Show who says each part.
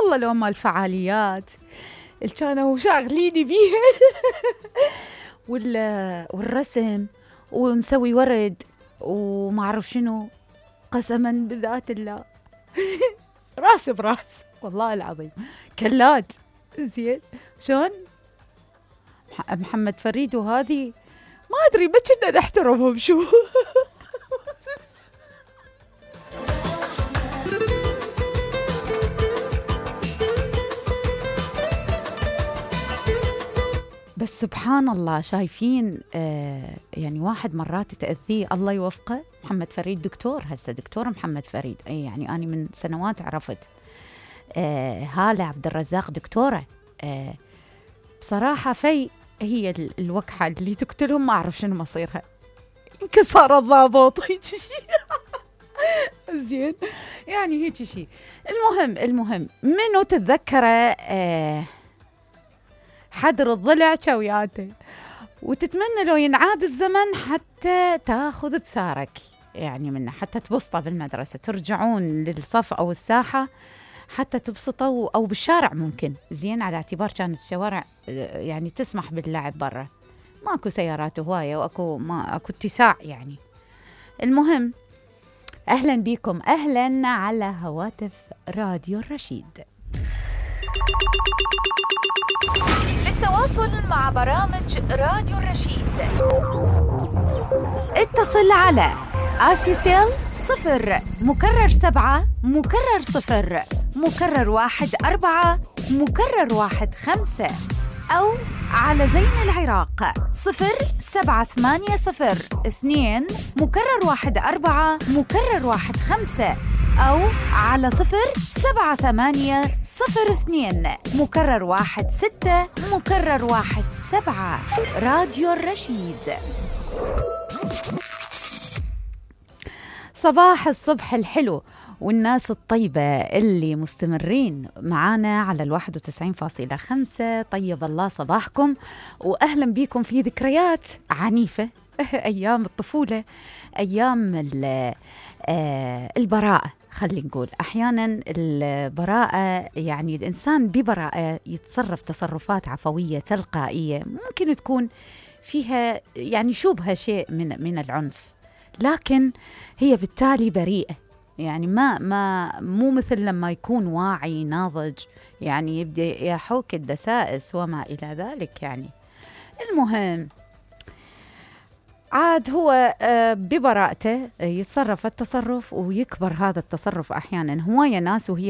Speaker 1: والله لو مال فعاليات اللي كانوا شاغليني بيها والرسم ونسوي ورد وما أعرف شنو. قسما بذات الله راس براس والله العظيم كلات. زين شلون محمد فريد وهذه ما أدري ما كنا نحترمهم شو. بس سبحان الله شايفين يعني واحد مرات تأذيه الله يوفقه. محمد فريد دكتور، هسه دكتور محمد فريد، يعني أنا من سنوات عرفت. هالة عبد الرزاق دكتورة. بصراحة هي الوكحة اللي تقتلهم، ما أعرف شنو مصيرها، يمكن صار الضابط هيك شيء. زين يعني هيك شيء. المهم منو تتذكره حدر الضلع شوياته، وتتمنى لو ينعاد الزمن حتى تاخذ بثارك يعني منه، حتى تبسطه بالمدرسة، ترجعون للصف أو الساحة حتى تبسطوا، أو بالشارع ممكن. زين على اعتبار كانت الشوارع يعني تسمح باللعب برا، ماكو سيارات هواية وأكو اتساع يعني. المهم أهلا بكم، أهلا على هواتف راديو الرشيد. للتواصل مع برامج راديو الرشيد اتصل على RCCL 0 مكرر 7 مكرر 0 مكرر 1 4 مكرر 1 5، أو على زين العراق 07802 مكرر 1 4 مكرر 1 5، أو على 07802 مكرر 1 6 مكرر 1 7. راديو الرشيد. صباح الصبح الحلو والناس الطيبة اللي مستمرين معانا على 91.5. طيب الله صباحكم وأهلا بكم في ذكريات عنيفة. أيام الطفولة، أيام البراءة. خلي نقول أحيانا البراءة يعني الإنسان ببراءة يتصرف تصرفات عفوية تلقائية، ممكن تكون فيها يعني شبه شيء من العنف، لكن هي بالتالي بريئة. يعني مو مثل لما يكون واعي ناضج يعني يبدأ يحوك الدسائس وما إلى ذلك يعني. المهم عاد هو ببراءته يتصرف التصرف ويكبر هذا التصرف. أحيانا هواية ناس وهي